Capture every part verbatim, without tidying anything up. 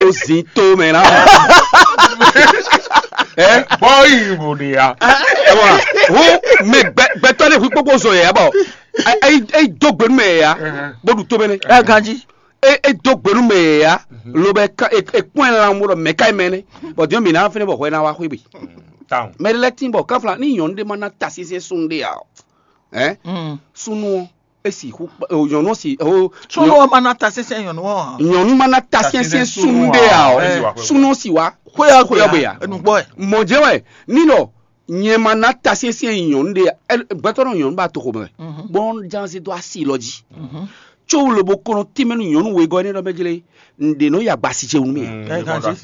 Ó zin tó mɛ ná. Ɛ bɔ yi bò de ya. Ɛ wá, hu mɛ gbɛ gbɛtɔ ne hu kpokpo zɔ yɛ bɔ. Ɛ ɛ do gbenu mɛ ya. Bó ɖu tó mɛ ne. Ɛ ganji. Ɛ ɛ do gbenu mɛ ya. Lo bɛ ka ɛ ɛ kpɔn ɛ lan mo ɖɔ mɛ ka ɛ mɛ ne. Bɔ diɔ mi na fɛnɛ bɔ hwɛ na wa xwe bi. Mɛ ɖe lɛ tin bɔ kafla ni nyɔnu ɖe ma na ta sese sun ɖe ya. Ɛ sunu ɔ esi xu nyɔnu si o. Sunu ɔ ma na ta sese nyɔnu ɔ. Nyɔnu ma na ta sese sunu ɖe ya o. Sunu si wa xweyɔ xweyɔ be ya. Nugbɔ ɛ. Mɔ jɛ wɛ ni nɔ nyɛ ma na ta sese nyɔnu ɖe ya. Gbɛtɔ nɔ nyɔnu ba to xo mɛ. Bɔn jansi do asi lɔ ji. Tso lobo kɔnɔ tɛmɛ nu nyɔnu wegɔ ne ɖɔ mɛ jle. Nɖe nɔ yi agbasi ce wunu mɛ.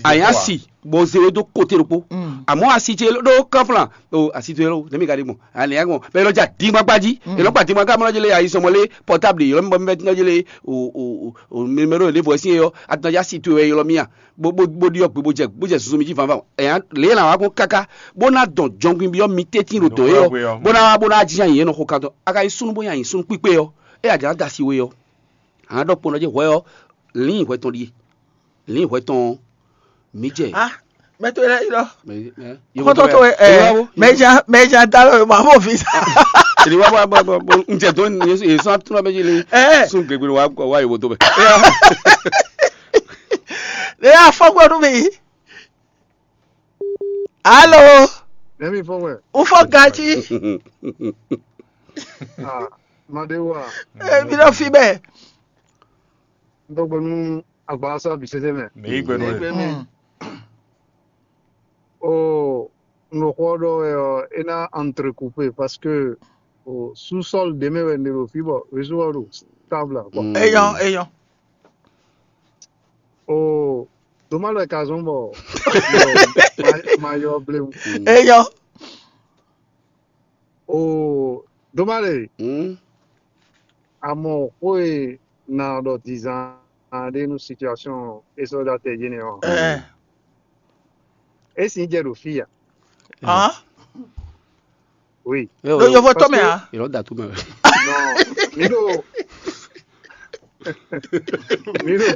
Aya si bɔ ze we do kote ɖokpo. Amɔ asi ce ɖo kɔflan o asi to yɛlɛ o ne mi ka ɖi gbɔn. Ani ya gbɔn bɛ yɛlɛ ja dingba gbaji yɛlɛ gba dingba gbaji mɔ jele ayi sɔmɔ le pɔtabli yɛlɛ mɔ mɛ tinɔ jele o o o numéro de voici yɔ atinɔ ja si to yɛ yɛlɛ mia bo bo bo ɖiɔ gbe bo jɛ bo jɛ susu mi ji fanfan. Ɛya le la wa gbɔn kaka bo na dɔn jɔngbin bi yɔ mi tɛtin ɖo dɔn yɔ bo na wa bo na jijan yɛ nɔ xo kan dɔn a ka yi sunu bo nya yi sunu kpikpe yɔ e a jɛ na da si we yɔ. A nǎ ɖɔ kpɔ́n ɖɔ jɛ́n hwɛ ɔ́, lǐin hwɛ tɔn ɖíe. Lǐin hwɛ tɔn ɔ́, mǐ jɛ. Ah, mɛ to lɛ yi lɔ. Xɔtɔ to ɛ mɛja mɛja da lɔ ma mo fi sa. Èdè wá wá bɔ bɔ bɔ n jẹ dɔn ní yéṣu yéṣu atúnú abẹ́jì lé. Ɛ sún gbègbè wá wá yòwò tó bẹ. Ne y'a fɔ gbɔdún mi. Alo. Nɛmi fɔ wɛ. Ufɔ gaji. Ah, Madewa. Ɛ mi lɔ fi bɛ. N tɔgbe nú agbasa bi sese mɛ. Mɛ yi gbɛ nú ɛ. Mm. O nɔxɔ ɖɔ wɛ ɔ, e na entrecoupé parce que o sous-sol ɖe mɛ wɛ ne ɖo fi bɔ réseau ɔ ɖo stable quoi. Eyɔn eyɔn. O doma lɛ ka zɔn bɔ ma yɔ blewu. Eyɔn. O doma lɛ. Amɔ xó e na ɖɔ dizan ɖe nú situation e sɔ́ ɖo atɛ jí nɛ́ ɔ́, é sin jɛ ɖo fí a? Hǎn? Oui. Ɖo yovótɔ́ mɛ ǎ. Yɔrɔ da tó mɛ. Non, mi ɖo mi ɖo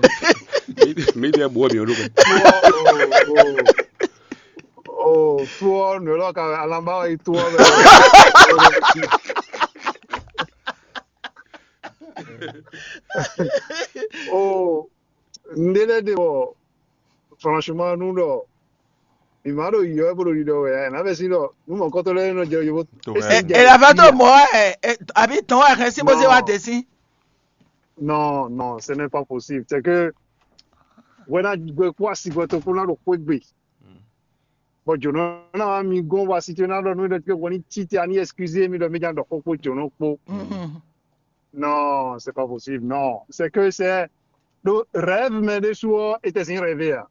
Mi ɖe bu ɔ mi ɔ ɖo mɛ. O o o o tu ɔ nɔ lɔ ka alanba yi tu ɔ mɛ. O nɖe lɛ ɖe bɔ franchement nu ɖɔ mi ma ɖo yiyɔ wɛ bó ɖo ɖiɖɔ wɛ ɛ nǎ bɛ sí ɖɔ nú mɔ̌kɔtɔ́ lɛ́ɛ nɔ jɛ yovo. Ela va tó mɔ ɛ àbí tɔn wɛ hɛn sí bó zé wá dé sí. Non, non, ce n'est pas possible. C'est que wena gbe kó asi gbɔ tó kó ná ɖo xwé gbe. Bɔ jǒnɔ ná wá mi gɔ́n wá si tó ná ɖɔ nú mi ɖɔ wɔ ní cí te a ní excuse mi ɖɔ mi ná ɖɔ xó kpó jǒnɔ kpó. Non, c'est pas possible. Non, c'est que c'est ɖo rêve mɛ ɖésú ɔ́, é tɛ sín rêve a?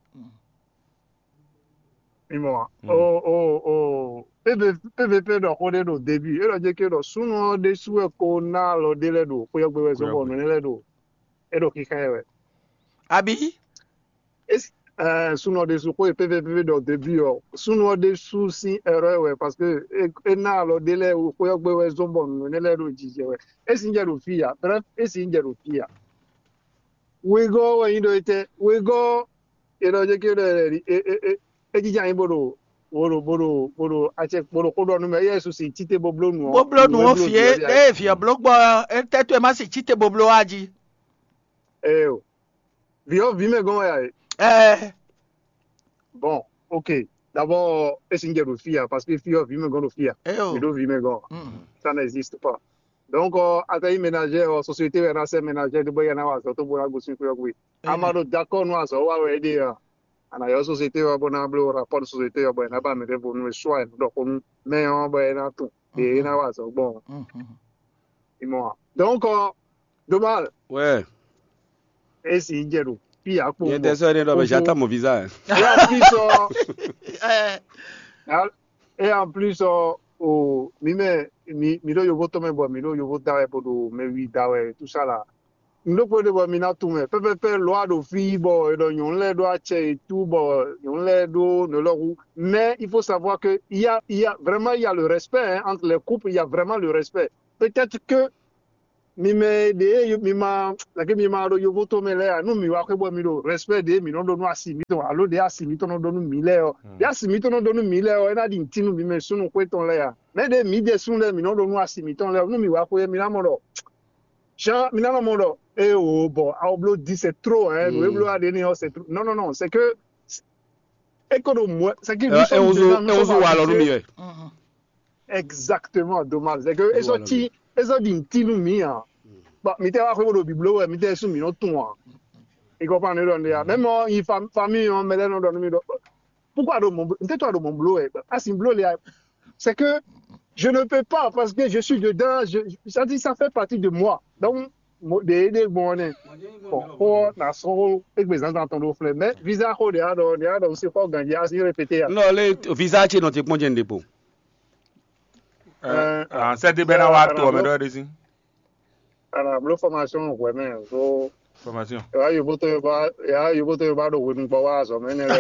Mi mɔ a? O o o P V P ɖɔ xó ɖé ɖo début, é ɖɔ jɛ ké ɖɔ súnnu ɔ́ ɖésú wɛ ko ná alɔ ɖé lɛ́ɛ ɖo xwé ɔ́ gbe wɛ zɔ́n bɔ nǔ énɛ́ lɛ́ɛ ɖo é ɖo xixá ɛ wɛ. Abǐ? Súnnu ɔ́ ɖésú xó e P V P ɖɔ début ɔ́, súnnu ɔ́ ɖésú sín erreur wɛ parce que é ná alɔ ɖé lɛ́ɛ xwé ɔ́ gbe wɛ zɔ́n bɔ nǔ énɛ́ lɛ́ɛ ɖo jijɛ wɛ. É sín jɛ ɖo fí a? Bref, é sín jɛ ɖo fí a? Wegɔ́ wɛ nyí ɖɔ étɛ́? Wegɔ́ è nɔ jɛ ké ɖɔ é jija nyí bó ɖo bó ɖo bó ɖo bó ɖo acɛ bó ɖo xó ɖɔ nú mɛ, éyɛ́ su sin cíte bó bló nǔ ɔ́. Bó bló nǔ ɔ́ fí é ée vǐ ɔ́ bló gbɔ ɔ́, étɛ́ towe má sin cíte bó bló wá jí. Ée o, vǐ ɔ́ vǐ mɛ gɔ́n wɛ a e? Ɛɛ. Bon, ok. D'abord, é sin jɛ ɖo fí a, parce que fí ɔ́ vǐ mɛ gɔ́n ɖo fí a. Ée o. Mi ɖó vǐ mɛ gɔ́n. Ça n'existe pas. Donc, euh, atɛ yi ménagère, euh, société wɛ na sɛ ménagère de bɔ ya na wa azɔ to bo na gosin kuyɔ gbe. Ama ɖo d'accord nú azɔ wa wɛ ɖe a? Ana yɔ société wa bɔ na blo rapport société wa bɔ na ba mɛ ɖe bo nú soit ɖɔ ko nú mɛ ɔn bɔ na tun e na wa azɔ gbɔn. Imɔ. Donc, euh, dommage. Ouais. Esi jɛ ɖo fi akpo. Yɛ tɛ sɔ ne ɖɔ bɛ j'attends mon visa. Et en plus, euh, et en plus, euh, o mi mɛ mi mi ɖo yovo tɔn mɛ bɔ mi ɖo yovo da wɛ bo ɖo mɛ wi da wɛ tout ça là. Nɖokpo ɖe bɔ mi na tunwun mɛ pɛpɛpɛ lɔ a ɖo fi bɔ e ɖɔ nyɔnu lɛ ɖo acɛ e tu bɔ nyɔnu lɛ ɖo nɔ lɔ hu. Mais il faut savoir que il y a il y a vraiment il y a le respect, hein, entre les couples, il y a vraiment le respect. Peut-être que mi mɛ ɖě mi ma lɛkɛ mi ma ɖo yovo to mɛ lɛ́ɛ ǎ, nú mi wá xwé bɔ mi ɖo respect ɖě mi nɔ ɖó nú asi mitɔn alo ɖě asi mitɔn nɔ ɖó nú mi lɛ́ɛ ɔ́, ɖě asi mitɔn nɔ ɖó nú mi lɛ́ɛ ɔ́, é ná ɖi nǔtí nú mi mɛ súnnu xwé tɔn lɛ́ɛ ǎ. Mɛ ɖě mi jɛ súnnu lɛ́ɛ mi nɔ ɖó nú asi mitɔn lɛ́ɛ ɔ́, nú mi wá xwé mi ná mɔ ɖɔ jean mi ná nɔ mɔ ɖɔ, ée o bɔ awo bló di c'est trop, hein, nǔ e bló aɖe ní ɔ́ c'est trop. Non, non, non, c'est que é ko ɖo mɔ c'est que nous sommes déjà nous sommes habitués. Walɔ nú mi wɛ. Exactement, dommage. C'est que eso ti eso di nti nú mi hein. Bon, mi tɛ wá xwé bó ɖo biblo wɛ mi tɛ sún mi nɔ tún hein. Il comprend ne ɖɔ ne ya. Même en famille en mɛlɛ nɔ ɖɔ nú mi ɖɔ. Pourquoi ɖo mɔ n tɛ to ɖo mɔ blo wɛ? Asi blo le ya. C'est que je ne peux pas parce que je suis dedans, je ça dit ça fait partie de moi. Donc mo de de bon ne. Bon, ko na so egbe zanzan tɔn ɖo flɛ. Mais visa ko de ya ɖɔ de ya ɖɔ si xɔ ganji asi répéter ya. Non, le visa ce nɔ ti kpɔn jɛ n depo. Sɛ di bɛ na wa to ɔmɛ ɖɔ ɖe si. Ana blo formation hwɛ mɛ so Formation. ya yovoto yoba ya yovoto yoba ɖo hwenu gbɔ wa azɔ mɛ ne lɛ.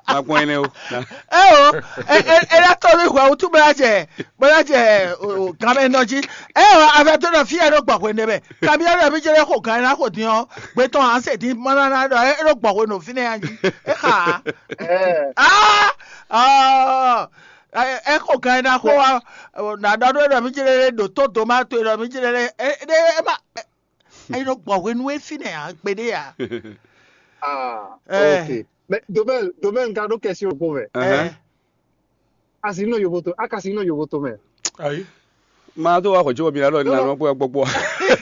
Ma kpɔn ɛnɛ o. ɛ o ɛ ɛ ɛ la tɔ mi hwɛ wutu bla jɛ bla jɛ o o gamɛ nɔ ji ɛ o avɛ to nɔ fi yɛ ɖo gbɔ hwenu mɛ kabi yɛ ɖo mi jɛ lɛ xo gan yɛ na xo din ɔ gbɛtɔ an se din mana na ɖɔ ɛ ɖo gbɔ hwenu fi nɛ yan ji e xa Ɛɛ, aa ɔ ɛ xo gan yɛ na xo wa na ɖɔ ɖo ɖɔ mi jɛ lɛ ɖo to do ma to ɖɔ mi jɛ lɛ ɛ ɛ ma ɛ ɖo gbɔ hwenu e fi nɛ yan gbeɖe ya ah, Eh. Ok. Mais domaine domaine ka ɖo question ko mɛ. Ɛhɛn. Asi nɔ yovoto akasi nɔ yovoto mɛ. Ayi. Ma tó wá xɔjó mi lọ ní Non, àwọn pé gbogbo.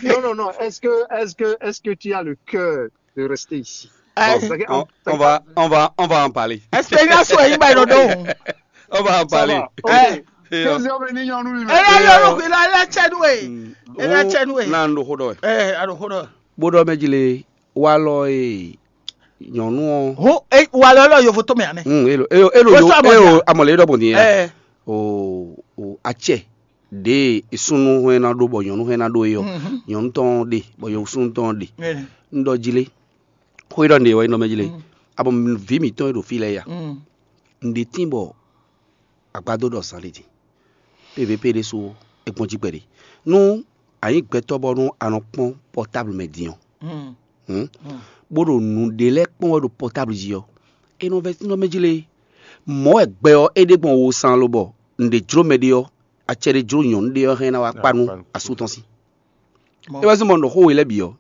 Non, non, non. Est-ce que, est-ce que, est-ce que tu as le cœur de rester ici? ɛ C'est que On, on va, on va, on va en parler. expérience wo yi ba yi ɖo ɖo On va en Ça parler. va. Ok. Eh. Et, euh, Deuxième réunion, nous, ɛ yɛ yɔrɔ ko la la cɛ nu ye ɛ la cɛ nu ye na ndo xó dɔ. ɛ a ɖo xó dɔ. Bó dɔ mɛ dzi le wa lɔ e nyɔnu ɔ. Ho e wa lɔ lɔ yovo to mɛ anɛ. Hmm, elo elo elo What's yo up, elo Mɔja? Amɔle yɔrɔ bɔn din ya. Ɛ O o atsɛ de esunnu hɛn na ɖo bɔ nyɔnu hɛn na ɖo eyɔ. Nyɔnu tɔn de bɔ yɔ sunnu tɔn de. N dɔ dzi le. Xó yi ɖɔ nɖe wɔ yi nɔ mɛ dzi le. Abɔ vi mitɔn e ɖo fi lɛ ya. Nɖe tín bɔ agbado ɖɔ zan ɖe din. P V P ɖésú é gbɔn jí kpɛɖé. Nú a nyǐ gbɛtɔ́ bɔ nú a nɔ kpɔ́n pɔtáblu mɛ din ɔ́, hǔn, bó ɖo nǔɖé lɛ́ɛ kpɔ́n wɛ ɖo pɔtáblu jí ɔ́, é nɔ vɛ́ nɔ mɛ jí lé. Mɔ̌ wɛ gbɛ ɔ́ é ɖe gbɔn wo sán lobɔ nǔɖé jló mɛ ɖé ɔ́, acɛ ɖé jló nyɔ̌nu ɖé ɔ́ hɛn ná wá kpa nú asú tɔn sí. É wá sí mɔ nɔ xó we lɛ́ɛ bǐ ɔ́.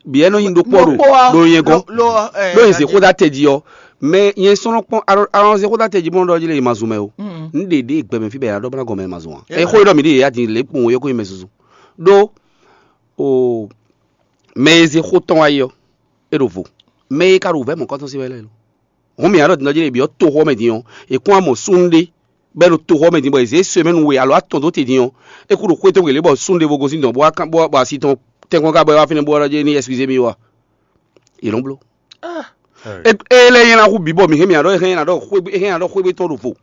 Bǐ ɛ́ nɔ nyi ɖokpó ɔ́ ɖo ɖo nyɛ gɔ́n. Ɖó nyi zǐxó dó atɛ jí ɔ́, mɛ nyɛ sɔ́ nɔ kpɔ́n alɔnze xó dó atɛ jí bó nɔ ɖɔ jí lé ma zun mɛ o. Nǔ ɖe ɖe gbɛmɛ fí bɛ yě ná ɖɔ bó ná gɔn mɛ ma zun ǎ. Ɛ xó ɖɔ mǐ ɖe yě yá din lě kpowun yɔ́ kó nyi mɛ zunzun. Ɖó o mɛ e zé xó tɔn wá yi ɔ́, é ɖo vo. Mɛ e ka ɖo vɛ̌ mɔ̌kɔ́tɔn sí wɛ lɛ́ɛ lo. Hɔn mǐ aɖɔ din ɔ́ jí lé byɔ́ toxo ɔ́ mɛ din ɔ́, è kún amɔ súnnu ɖé bɔ é ɖo toxo ɔ́ mɛ din bɔ è zě sɔ́ mɛ nú we alo atɔn dó te din ɔ́, é kú ɖo xwé tɔn gělé bɔ súnnu ɖěvo gosín dɔn bó wá kán bó wá bɔ asi tɔn tɛ́nkpɔ́n ká bɔ é wá fínɛ́ bó wá ɖɔ jɛ ní ɛsikizé mì wá. Yě nɔ bló. É é lɛ́ nyɛ ná hu bǐ bɔ mǐ hɛn mǐ aɖɔ hɛn nyɛ ná ɖɔ xwé hɛn ná ɖɔ xwé tɔn ɖo vo.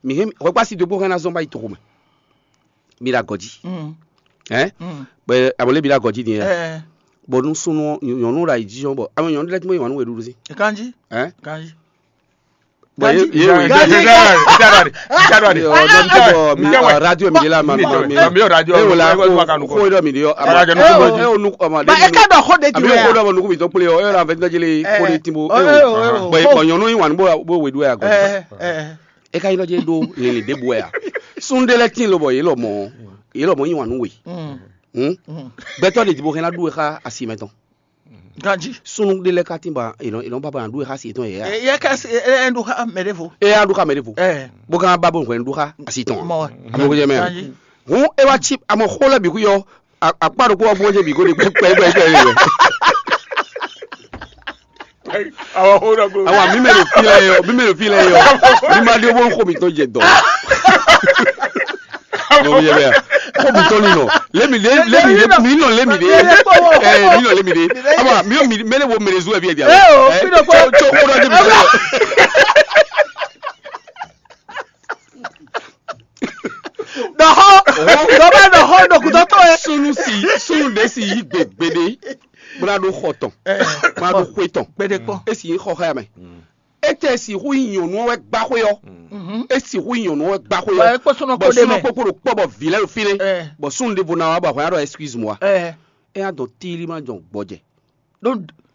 Mǐ hɛn hwɛkpá si dó bó hɛn ná zɔn bá yi toxo mɛ. Mi ɖo agɔ̌ jí. Ɛ bɛ amɔ lé mi ɖo agɔ̌ jí din yɛ. Bɔ nú súnnu nyɔ̌nu ɖo ayǐjínjɔ́n bɔ amɛ nyɔ̌nu lɛ́ɛ tí mɔ yě wǎn nú we ɖuɖu sí. Kanji. Ɛ Kanji. Bɔ yé yé wò Gazi, January, January, January. Ɔ dɔ mi bɔ mi ɔ radio mi de la ma ma mi Mi ɔ radio, e wò la mi ɔ radio, ko ko dɔ mi de ɔ ama Radio e o e o nu ɔma Ba e ka dɔ xo de ami juro o ko ya. dɔ ma nuku mi tɔ kple ɔ e la vɛ dɔ jele ko de timbo Eh, e eh, o oh, bɔ oh. Bɔ nyɔnu yi wan bo bo we do ya gɔ Eh, eh. E ka yi dɔ je do lele de bo ya. Sun de lɛ tin lo bɔ ye lɔ mɔ ye lɔ mɔ yi wan nu we. Hmm. Gbɛtɔ de dibo hɛn la du e xa asi mɛ tɔn. Ganji. Sunu de lɛ ka tin ba e nɔ e nɔ ba ba na du e xa asi tɔn ye ya. Eh, ye ka si eh, eh, ndu ha mɛ de vo. E ya du xa mɛ de vo. Eh. Bo kan ba bo hwɛ du xa asi tɔn. Mɔ. Amo ko jɛ mɛ. Ganji. Hun e wa tsi amo xo lɛ bi ku yɔ. Akpa ɖokpó ɔ́ gbɔn jɛ bǐ ko ɖi kpɛkpɛkpɛ. Àwọn xó dɔ ko. Awa mi mɛ ɖo fi lɛ yɔ mi mɛ ɖo fi lɛ yɔ mi ma ɖi owó xɔ mi tɔn jɛ dɔ. Mo yɛ bɛ xɔ mi tɔn ni nɔ lé mi lé lé mi lé mi nɔ lé mi de ɛ mi nɔ lé mi de awa mi mi mɛ ne wo mɛ ne zu ɛ bi ɛ di awo Eh, o, ɛ fi ɖokpó. tso tso xɔ dɔ jɛ mi tɔn yɔ. Dɔxɔ dɔbɛ dɔxɔ dɔkutɔtɔ yɛ. Sunu si sunu de si yi gbegbe de bla ɖo xɔ tɔn bla ɖo xɔ tɔn Gbede kpɔ. Esi yi xɔ xɛ mɛ e Étɛ́ e sixú nyí nyɔ̌nu ɔ́ wɛ gbá xwé ɔ́? É sixú nyí nyɔ̌nu ɔ́ wɛ gbá xwé ɔ́. Bɔ é kpó súnnu ɔ́ kpó ɖ'é mɛ. Súnnu kpó kpo ɖo kpɔ́ bɔ vǐ lɛ́ɛ ɖo fínɛ́. Bɔ súnnu ɖěvo ná wá bɔ ahwan ɖɔ excuse moi. É nya dɔn tílí má jɔn gbɔjɛ.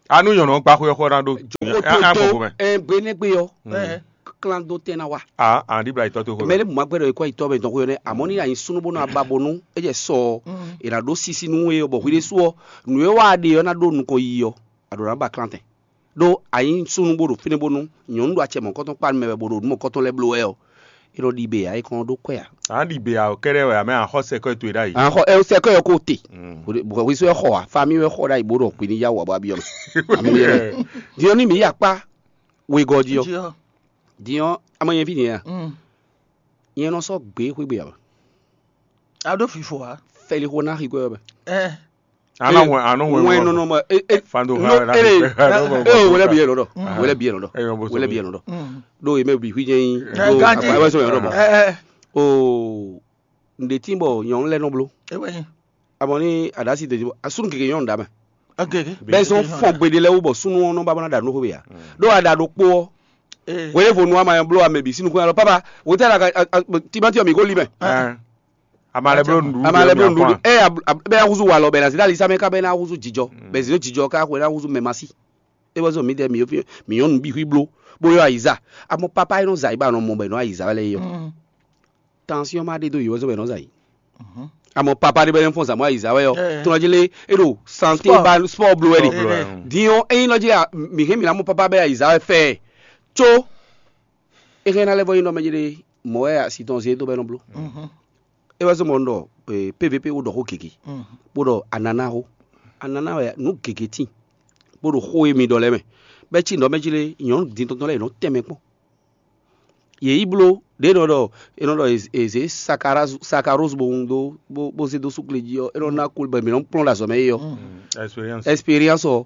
Anu nyɔ̌nu ɔ́ gbá xwé ɔ́ xɔ ná ɖó. Jɔxó tó tó ɛ gbe nɛ́ gbe ɔ́. Klán dó tɛn ná wa. A an ɖibla yitɔ to xo. Mɛ ne mɔ agbɛdɔ ekɔ yitɔ bɛ dɔn xo yɔ nɛ amɔ ni anyi sunu bó nɔ aba bonu e jɛ sɔ e na ɖó sisi nu e bɔ hwi ɖe su ɔ nu e wa ɖe ɔ na ɖo nukɔn yi ɔ a ɖo na ba klantɛ ɖo anyi sunu bó ɖo fínɛ bonu nyɔnu ɖo acɛ mɔkɔtɔn kpa mɛ bɔ ɖo nu mɔkɔtɔn lɛ blo wɛ ɔ e nɔ ɖi be a e kɔn ɖó kɔɛ a. An ɖi be a kɛɖɛ wɛ amɛ an xɔ sɛkɔ towe ɖ'ayi. An xɔ ɛ sɛkɔ yɔ ko te. Bɔ hwi so ɛ xɔ a fami wɛ xɔ ɖ'ayi bó ɖɔ hwi ni ya wɔ bɔ a bi ɔ. Diɔ ni mi ya kpa wegɔ diɔ. Diɔ ama yɛn vi ni ya. Nyɛ nɔ sɔ́ gbě xwé gbe ǎ. A ɖó fifo ǎ. Fɛli xo ná xi kɔ́ yɔ mɛ. Ɛ Ana wɛn ano wɛn wɛn nɔnɔ ma e e Fando no ha na ele e o wele bi yɛ nɔdɔ wele bi yɛ nɔdɔ wele bi yɛ nɔdɔ. Ɖo yi mɛ bi xwi jɛ yi. Ɖo akpa ɛwɛ sɔ yɛ nɔdɔ bɔ. Ɛ ɛ O nde tí bɔ nyɔnu lɛ nɔ blo. Ewɛ yi. Abɔ ni adasi de asunu keke nyɔnu da mɛ. Agege. Bɛ zɔn fɔn gbede lɛ wo bɔ sunu ɔnɔ ba bana da no xwe ya. Ɖo ada ɖo kpo ɔ. Wele vo nu ama yɛn blo ame bi sinu kun alɔ papa wo tɛ la ka timati mi ko li mɛ. Ama lɛ blo nɖu. Ama lɛ blo nɖu. Ɛ bɛ na huzu walɔ bɛ na zidali samɛ ka bɛ na huzu jijɔ bɛ zidɔ jijɔ ka xwe na huzu mɛ masi. E bɔ zɔn mi dɛ mi yo fi mi nyɔnu bi xwi blo bó yɔ ayiza. Amɔ papa e nɔ za yi ba nɔ mɔ bɛ nɔ ayiza wɛ lɛ yɔ. Tansiɔn ma ɖe dó yi wɛ zɔn bɛ nɔ za yi. Amɔ papa ɖe bɛ nɔ fɔn zamɔ ayiza wɛ yɔ. Tɔnɔ jele e ɖo sante ba sport blo wɛ de. Diɔ eyin nɔ jele mi hɛn mi na mɔ papa bɛ ayiza wɛ fɛ. Tso e hɛn na lɛ vɔ yin nɔ mɛ jele mɔ wɛ asi tɔn ze do bɛ nɔ blo. E wɛ zɔn bɔ n ɖɔ pvp wo ɖɔ xó gege bó ɖɔ anana xó anana wɛ nú gege tín bó ɖo xó e mi ɖɔ lɛ́ɛ mɛ bɛ́ cí nǔ ɔ́ mɛ jí lé nyɔ̌nu din tɔn tɔn lɛ́ɛ yě nɔ tɛn mɛ kpɔ́n. Yě yi bló ɖě nɔ ɖɔ è nɔ ɖɔ è zě sakarose bó wun dó bó zé dó súkle jí ɔ́ é nɔ ná kú bɔ mǐ nɔ kplɔ́n ɖo azɔ̌ mɛ é ɔ́. Expérience ɔ́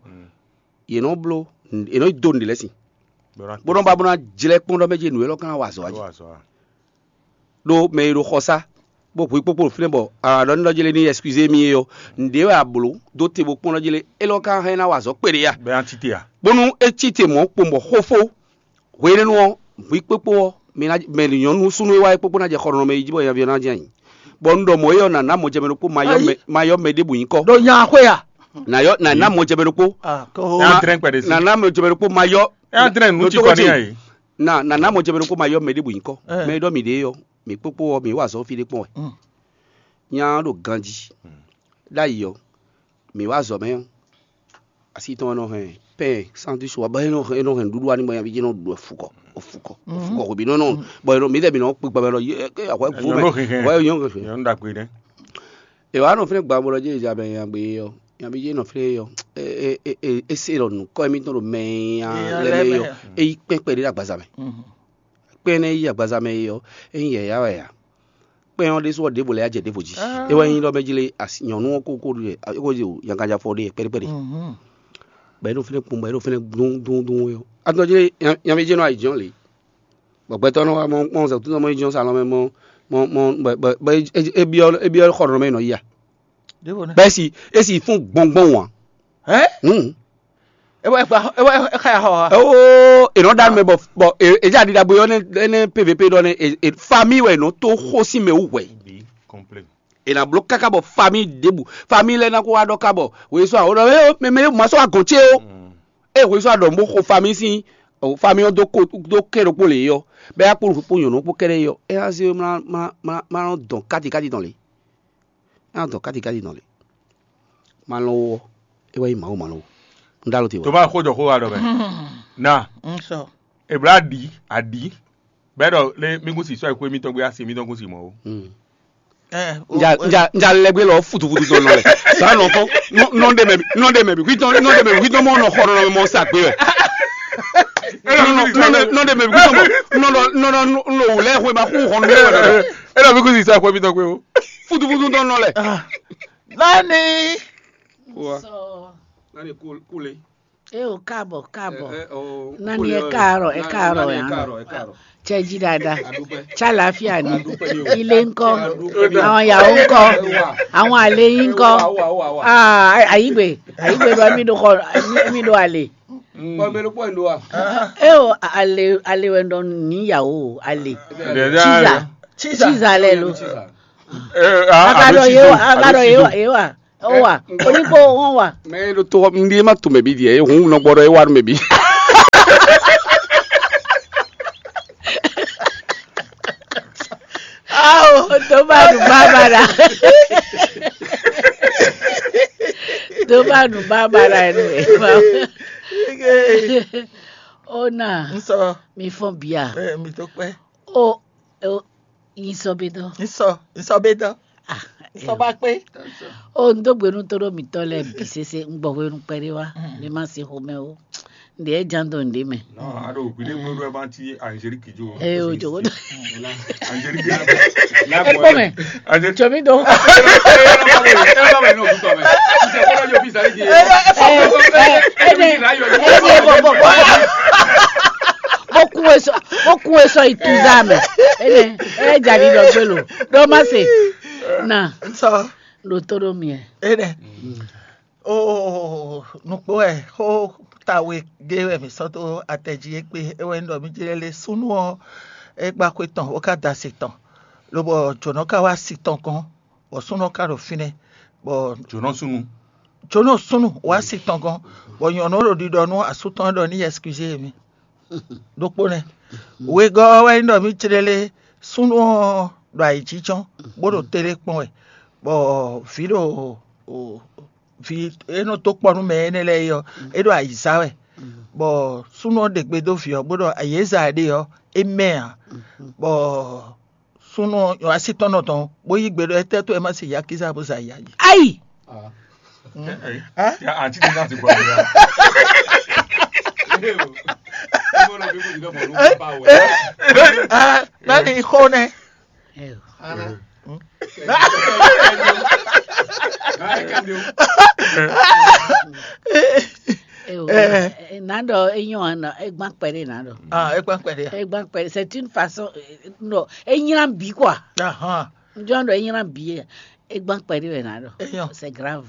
yě nɔ bló yě nɔ dó nǔɖé lɛ́ɛ sin bó nɔ ba bó ná jlɛ́ kpɔ́n ɖɔ mɛ jí nǔ élɔ́ ka ná wa azɔ̌ wá jí. Ɖó mɛ e ɖo xɔsá bó hwi kpókpó ɖo fínɛ́ bɔ aɖɔ ní ɖɔ jélé ní ɛskúzé mì é ɔ́, nǔɖé wɛ a blǒ dó te bó kpɔ́n ɖɔ jélé élɔ́ ka hɛn ná wa azɔ̌ kpéɖé a? Bɛ́ ná tite a? Bónú é cí te mɔ̌ kpowun bɔ xófó hwenɛ́nu ɔ́, hwi kpókpó ɔ́, mɛ nyɔ̌nu súnnu e wá é kpókpó ná jɛ xɔ nɔ mɛ yi jí bɔ nyaví ɔ́ ná jɛ ayǐ. Bɔ un ɖɔ mɔ̌ é ɔ́ nǎ ná mɔjɛmɛ ɖokpó ma yɔ mɛ ɖěbǔ nyí kɔ́. Ɖo nya xwé a? Nǎ yɔ nǎ ná mɔjɛmɛ ɖokpó. Nǎ ná mɔjɛmɛ ɖokpó ma yɔ. Ɛ á dlɛ́n nǔ ci kɔ n'i a yě. Na nana mɔ jɛ mɛ ɖokpó ma yɔ mɛ ɖěbǔ nyí kɔ mɛ e ɖɔ mǐ ɖe ɔ́, mǐ kpókpó ɔ́ mǐ wa azɔ̌ fí ɖé kpɔ́n wɛ. Nya ɔ́ ɖo ganjí ɖ'ayǐ ɔ́, mǐ wa azɔ̌ mɛ ɔ́, asi tɔn ɔ́ nɔ hɛn pɛ́n sandwich wá bɔ é nɔ hɛn é nɔ hɛn nǔɖuɖu wá n'i bɔ nyaví jɛ́n nɔ ɖu wɛ fukɔ fukɔ fukɔ hwebǐ nɔ nɔ bɔ mǐdɛɛ mǐ nɔ kpé gbɛ mɛ ɖɔ yé ké ahwɛ gu mɛ ahwɛ nyɔ́ hɛn. Nyɔnu ɖagbe nɛ. È wǎ nɔ fínɛ́ gbawungblɔ jí è ja mɛ nyagbé ɔ́, nyaví jɛ́n nɔ fínɛ́ ɔ́, é se ɖɔ nǔkɔ émítɔn ɖo mɛ e nya lɛ́ɛ mɛ é ɔ́, é yí kpɛ́n kpɛɖé ɖo agbaza mɛ. Kpɛ́n énɛ́ yí agbaza mɛ é ɔ́, é nyí yɛ̌yá wɛ ǎ. Kpɛ́n ɔ́ ɖésú ɔ́, ɖěvo lɛ́ɛ yá jɛ ɖěvo jí. É wɛ nyí ɖɔ mɛ jlé nyɔ̌nu ɔ́ kókó ɖu é ko jí yankaja fɔ ɖe pɛ́ɖépɛ́ɖé. Bɔ é ɖo fínɛ́ kpɔ́n, bɔ é ɖo fínɛ́ dún dún dún é ɔ́. Atɔn jlé nyaví jɛ́n nɔ ayǐjínjɔ́n lě. Bɔ gbɛtɔ́ nɔ wá mɔ mɔ zɛkútú mɔ yi jɔ́n salɔn mɛ mɔ mɔ mɔ bɔ bɔ é byɔ́ é byɔ́ xɔ nɔ mɛ nɔ yi a? Bɛ́ si é si fún gbɔngbɔn wǎn. Hɛn? Hmm. É wá é wá é wá é xa ya xɔ ha. Ó, è nɔ ɖa mɛ bɔ bɔ è dza ɖi ɖagbe ɔ́ nɛ pvp ɖɔ nɛ famille wɛ è nɔ tó xó sín mɛ wú hwɛ. È nǎ bló káká bɔ famille ɖěbǔ famille lɛ́ɛ ná kó wá ɖɔ ká bɔ wòye sɔ́ àwòrán ɛ mɛ mɛ ma sɔ́ wá gɔ̌n ce ó. Eye wòye sɔ́ àɖɔ bó xo famille sín famille ɔ́ dó kó dó kɛ́ ɖokpó lě ɔ́ bɛ yá kpó kpó nyɔ̌nu kpó kɛ́ɖɛ́ ɔ́ é ná zé má má má má nɔ dɔn káti káti tɔn lě. É ná dɔn káti káti tɔn lě. Má lɔn wó ɔ́ é wá nyí Mawu má lɔn wó. Un ɖó alɔ te wá. Tó bá xó jɔ xó wa ɖɔ mɛ. Na. Ebla ɖi aɖi bɛ́ ɖɔ lé mí kún si sɔ́ xwé mítɔn gbé asi mítɔn kún si mɔ̌ ó. Nja nja lɛgbɛ lɔ futufutu tɔn nɔ lɛ sa nɔ fɔ nɔ de mɛ nɔ de mɛ bi kuitɔ nɔ de mɛ bi kuitɔ mɔ nɔ xɔ nɔ mɔ sa gbe wɛ nɔ de mɛ bi kuitɔ mɔ nɔ nɔ nɔ nɔ wulɛ xɔ ma xɔ nɔ de wɛ. E lɔ bi kusi sa xɔ mi tɔ gbe o. Futufutu tɔn nɔ lɛ. Lani. Lani kule. Eo káàbọ̀ káàbọ̀. Nani ẹ káàárọ̀ ẹ káàárọ̀ ẹ káàárọ̀. Cɛji dada. Cálàáfíà ni. Ilé ńkọ́? Àwọn ìyàwó ńkọ́? Àwọn àlè yín ńkọ́? Àyígbè àyígbè bá mi dó kọ mi dó àlè. Bɔ mɛ ɖokpó ɛ ɖo wa. Eo, ale ale wɛ ɖɔ nǐyawo, ale. Chiza. Chiza. Chiza lɛ lo. Agadɔ yewa, agadɔ yewa yewa. Owa, onígbó wọn wa. Mɛ ɖo tó ŋɖi ma to mɛ bi diɛ, hun nɔ gbɔdɔ e wa nú mɛ bi. Awo, tó bá nu bábára. Tó bá nu bábára ẹ nú ẹ. Ó nà, Nsɔ, mi fɔn bia. eh, mi tó pẹ́. Ó, ó, yín sɔ bí dán. Nsɔ, nsɔ bɛ dán. Ah, Nsɔ bá pé. Ó, n dó gbénu tó ɖó mǐtɔn lɛ́ɛ bǐ sésé, un gbɔ hwenu kpɛɖé wá, mi ma se xomɛ ó. N ɖě ján dó n ɖě mɛ. Non, aɖo gbiɖe ŋu ɖo ɛvan ti Angélique jo. Eye o jogo dó. Angélique. Ẹ kpɔ mɛ, Angélique. Jɔ mi dɔn. Bó kún e sɔ, bó kún e sɔ yi tuza mɛ. Ene, ɛ jadi dɔ gbelo. Dɔ ma se. Na, Nsɔ, ɖo tó ɖo miɛ. enɛ. O, nukpó wɛ xó tawe gé wɛ mǐ sɔ́ dó atɛ jí é kpé é wɛ nyí ɖɔ mí jlɛ́ lé súnnu ɔ́, é gbá xwé tɔn bó ka da asi tɔn, lobɔ jǒnɔ ka wá asi tɔn gɔ́n, bɔ súnnu ɔ́ ka ɖo fínɛ́, bɔ Jǒnɔ súnnu. jǒnɔ súnnu wá asi tɔn gɔ́n, bɔ nyɔ̌nu ɔ́ ɖo ɖiɖɔ nú asú tɔn ɔ́ ɖɔ ní yi ɛskizé mì. Ɖokpó nɛ́. Wegɔ́ ɔ́ wɛ nyí ɖɔ mí clélé súnnu ɔ́ ɖo ayǐjínjɔ́n, bó ɖo télé kpɔ́n wɛ, bɔ vǐ ɖo vǐ e nɔ dó kpɔ́ nú mɛ énɛ́ lɛ́ɛ é ɔ́, é ɖo ayǐ zá wɛ, bɔ súnnu ɔ́ ɖe gbe dó vǐ ɔ́, bó ɖɔ ayǐ e zá ɛ ɖe ɔ́, é mɛ ǎ, bɔ súnnu ɔ́ asi tɔn nɔ tɔn, bó yí gbe ɖɔ étɛ́ tó wɛ má se yakíza bó zɛ ayǐ. Ayi. Ya anti de náà ti gbọ́ mi ya. Mɛni xó nɛ. Nado enyo ana egban kpɛɖe nado. Ah, é kpán kpɛɖe. Egban kpɛɖe, c'est une façon, non, enyina bi quoi. Ahan. Njɔn do enyina bi. Egban kpɛɖe wɛ nado. Enyo. C'est grave.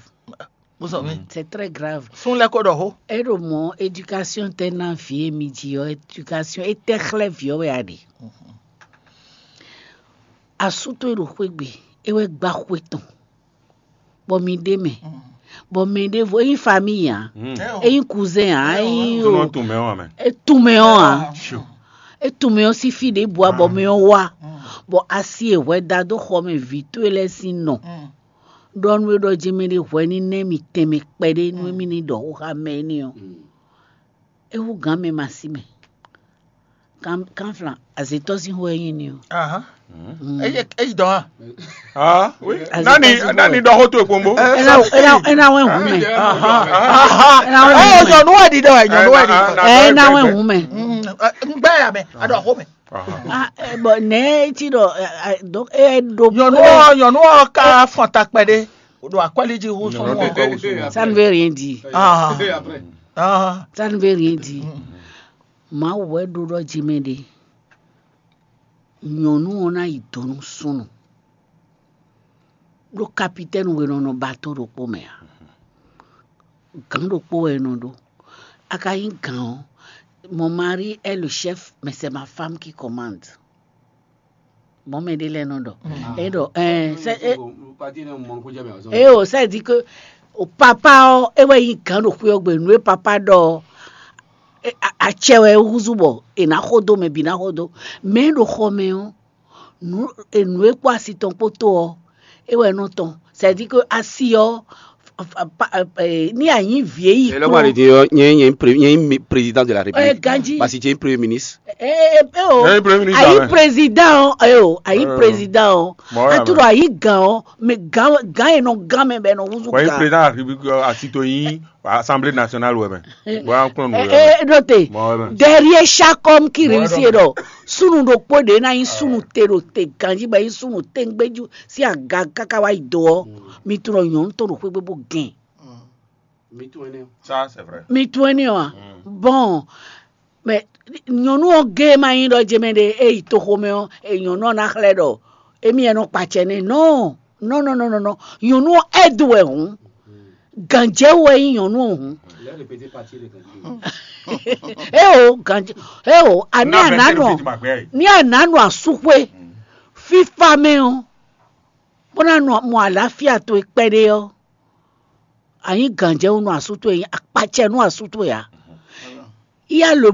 Bó sɔ mi. C'est très grave. Sún lɛ kó ɖɔ xó. Eɖo mɔ éducation tɛ na vie mi ji ɔ, éducation etɛ xlɛ viɔ wɛ aɖe. Asú tó e ɖo xwé gbe, e wɛ gba xwe tɔn, bɔ mi ɖe mɛ, bɔ mɛ ɖevo eyin famille ya, eyin cousin ya, eyin Tó nɔ tún mɛ wọn mɛ. Etumɛ ɔ́ a? Etumɛ ɔ́ sín fí ɖěbǔ abɔ mɛ ɔ́ wá, bɔ asi e hwɛ da dó xɔ mɛ vǐ towe lɛ́ɛ sín nɔ, ɖɔ nú é ɖɔ jɛmɛ ɖé hwɛ ní nɛ́ mì tɛnmɛ kpɛɖé nú émí ní ɖɔ xó xá mɛ énɛ́ ɔ́. É hú gǎn mɛ ma sí mɛ. Kánflan, azětɔ́ sín xó wɛ nyí ní ɔ́. Ahan. Eye eyi dɔn a? Ah, oui. Nani nani dɔ xó tó ekpombo. É ná é ná é ná wɛ hǔn mɛ. Ahan. Ɛ nyɔnu wɛ ɖiɖɔ ɛ nyɔnu wɛ ɖiɖɔ. Ɛ é ná wɛ hǔn mɛ. N gbɛ ya mɛ a ɖɔ xó mɛ. Ah, eh, bon, nɛ ti ɖɔ eh, eh, donc eh, ɖo Nyɔnu ɔ nyɔnu ɔ ka fɔn ta kpɛɖe. O ɖo akwɛli jí hu sɔn. Ça ne veut rien dire. Ah. Ah. Ça ne veut rien dire. Mawu wɛ ɖo ɖɔ jimɛ ɖe. Nyɔnu ɔ́ ná yi dǒ nú súnnu. Ɖó kapitɛ́ni we nɔ nɔ bato ɖokpó mɛ ǎ. Gǎn ɖokpó wɛ è nɔ ɖó. A ka nyí gǎn ɔ́, mon mari est le chef, mais c'est ma femme qui commande. Mɔ̌ mɛ ɖé lɛ́ɛ nɔ ɖɔ. É ɖɔ ɛɛ sɛ é é o sɛ di ke o papa ɔ́ é wɛ nyí gǎn ɖo xwé ɔ́ gbe nǔ e papa ɖɔ ɔ́. Acɛ wɛ é húzú bɔ è nǎ xo dó mɛ bǐ ná xo dó. Mɛ e ɖo xɔ mɛ ɔ́, nǔ e kpó asi tɔn kpó tó ɔ́, é wɛ nɔ tɔn. C'est-à-dire que asi ɔ́, ní a nyí vǐ e yi Et là, moi, je dis, euh, il y a un, il y a un pré- il y a un mi- président de la République. Ganji. Parce que tu es un premier ministre. Eh, eh, eh, oh. Ẹ yí premier ministre Ayi amɛ. Président o, eh, oh, ayi Euh, président o. Bon, ouais, Atúrò ouais. Ayi gan o, mais gan gan yẹn nɔ gan mɛ bɛ nɔ wuzu Wọ́n yí gan. Président de la République asito yín Assemblée nationale wẹ̀ mẹ́. Wọ́n á kplɔ́n nù Eh, wẹ̀. eh, Note, Bon, ouais, ouais. Derrière chaque homme qui Bon, réussit ouais, ɖɔ sunu ɖokpó ɖe na yi sunu te ɖo te ganji ba yi sunu te ŋgbɛju si aga kaka wa yi do ɔ, mi tunɔ nyɔnu tɔn ɖo xwégbe bó gɛn. Ça, c'est vrai. Mi tún ɛni wa. Bon, mais nyɔnu ɔ gé ma nyi ɖɔ jɛmɛ ɖe e yi toxomɛ ɔ, e nyɔnu ɔ na xlɛ ɖɔ emi yɛ nɔ kpatsɛ nɛ. Non, non, non, non, non, non. Nyɔnu ɔ aide wɛ hun. Gǎnjɛwú wɛ nyí nyɔ̌nu ɔ́ hǔn. Éo, gǎnjɛ, éo, àní àná nɔ, ní àná nɔ asúxwé fífá mɛ ɔ́, bó ná nɔ mɔ àlàáfíà towe kpɛɖé ɔ́, ànyí gǎnjɛwú nú asú towe, akpacɛ nú asú towe ǎ. Yá lo